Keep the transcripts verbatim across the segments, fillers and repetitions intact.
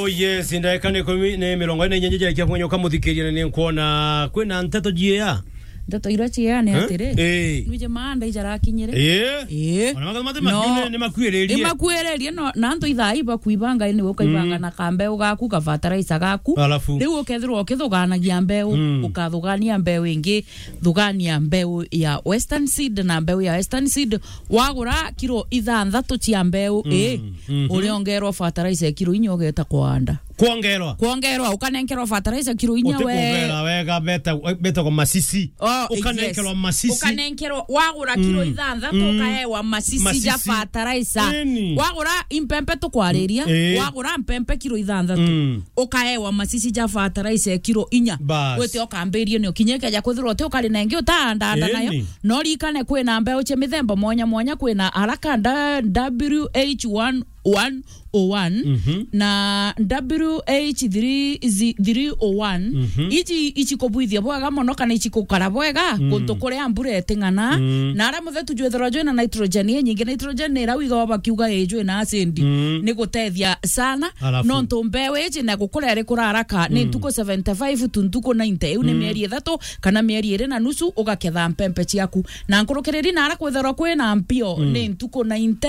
Oh yes, ndagika ni ikumi ni mirongo ine na inya njerekia kunyoka muthikiria, na ni nkuona kwina nteto jiea. Nteto iria ciea ni Eh? atiri. Eh. Nwije maa ndaijarakinyire. Eh? Eh. Ona matha matha No. makiune ni makuiririe. Ni makuiririe, no, na antu ithaa iba kuibanga ni ukaibanga Mm. na kambeu gaku, ka fertilizer gaku. Alafu? Riu ukethirwa ukithuganagia mbeu, Mm. ukathugania mbeu ingi, thugania mbeu ya Western Seed na mbeu ya Western Seed. Wagura kiro ithanthatu cia mbeu Mm. ii, Mhm. uriongerwa fertilizer kiro inya ugeta kwanda. Kwongerwa? Kwongerwa, ukanenkerwa fertilizer kiro inya we. Utikugera wega, beta-, betagwo masisi. Oh, Ukanenkerwa yes. masisi. Ukanenkerwa, wagura kiro Mm. ithanthatu, Mm. ukaewa masisi ja Masisi. fertilizer. Eni. Wagura impempe tukwariria, Mm, eh. wagura mpempe kiro ithanthatu. Mm. Ukaewa masisi ja fertilizer kiro inya. Bas. Wite ukambirie nio kinya ikeja kwithirwa uti ukari nengi utaandaanda nayo. Eni. No rikane kwina mbeu cia mithemba mwanya mwanya, kwina Haraka nda-, W H one one oh one, Mhm. na W H three zi-, three oh one. Mhm. Iji, iji kubwithia bwega mono kana iji gukara bwega, Mm. guntu kuria mbura iting'ana. Mm. Na aria muthetu jwithirwa jwina nitrogen inyingi. Nitrogen ni iria wigawa bakiuga ii jwina acid. Mm. Ni gutethia sana. Alafu? Nontu mbeu iji na gukura iri kura haraka, ni Mm. ntuku seventy-five to ntuku ninety. Iu ni Mm. mieri ithatu kana mieri iri na nusu, ugaketha mpempe ciaku. Na nkurukiriri na aria kwithirwa kwina mpio, Mm. ni ntuku ninety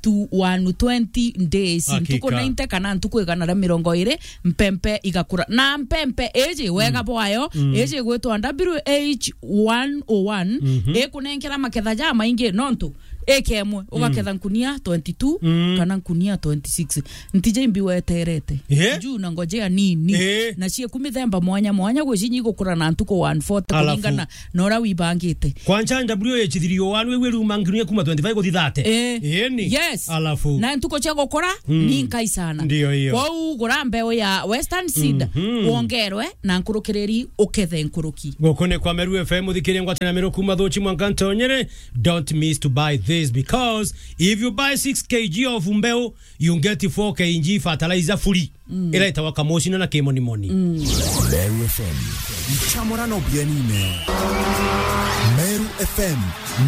to one twenty days. Hakika. Ntuku ninety kana ntuku igana ria mirongo iri, mpempe igakura. Na mpempe iji, wega Mm. bwayo, Mm. iji igwitwa W H one oh one, Mhm. ikunenkera maketha jamaingi, nontu ikemwe, Mm. ugaketha nkunia twenty-two Mm. kana nkunia twenty-six. Ntija imbi weterete. Eh? Juu na ngojea nini. Eh? Na cieku mithemba mwanya mwanya, gwi cinyi igukura na ntuku one forty Alafu? kuringana na uria wibangite. Kwanja W H three oh one, wiwe riuma nginya kuma twenty-five guthi thirty. Eh. Eni. Yes. Alafu? Na ntuku cia gukura Mm. ni nkai sana. Ndio hiyo. Kwou gura mbeu ya Western Seed, Mhm. wongerwe na nkurukiriri ukethe nkuruki. Guku ni kwa Meru F M, uthikirie ngwataniro Meru kuma Thuchi mwanka Ntonyere. Don't miss to buy this, because if you buy six K G of mbeu, you get four K G fertilizer free. Mm. Ira itawa Kamocino na Kimonimoni. Mm. Meru F M. Nchamurano bienine. Meru F M,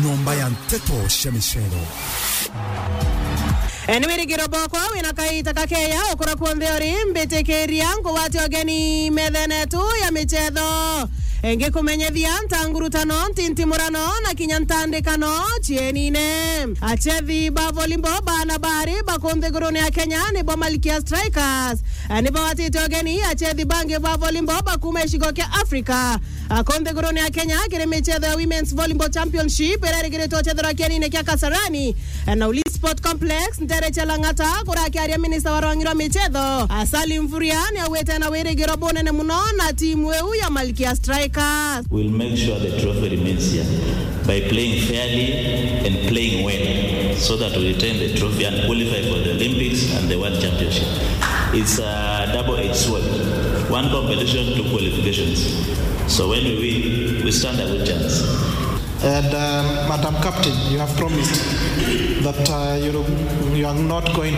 nyomba ya nteto cia micero. E, ni wirigiro bwakwa wina kaita kakeya ukura kunthe uri, mbitikiria ngugwate ugeni methene yetu ya michetho. E, ngikumenyethia ntangurutano, ntintimurano na kinya ntandikano cienine. Achethi ba volleyball bana bari ba ku nthigurune ya Kenya nibo Malkia Strikers. E, ni bawatite ugeni achethi bangi ba volleyball ba kuma gicigo kia Africa. A, ku nthigurune ya Kenya kiri michetho ya Women's Volleyball Championship iria irigiritwe guchethera kienine kia Kasarani, e, na Ulinzi Sport Complex, ntere cia Lang'ata, kurakiaria minista wa rwangi rwa michetho, a, Salim Mvurya, ni augite ena wirigiro bunene muno na timu iu ya Malkia Strikers. We'll make sure the trophy remains here by playing fairly and playing well so that we retain the trophy and qualify for the Olympics and the World Championship. It's a double-edged sword. One competition, two qualifications. So when we win, we stand a good chance. And, um, Madam Captain, you have promised that, uh, you, you are not going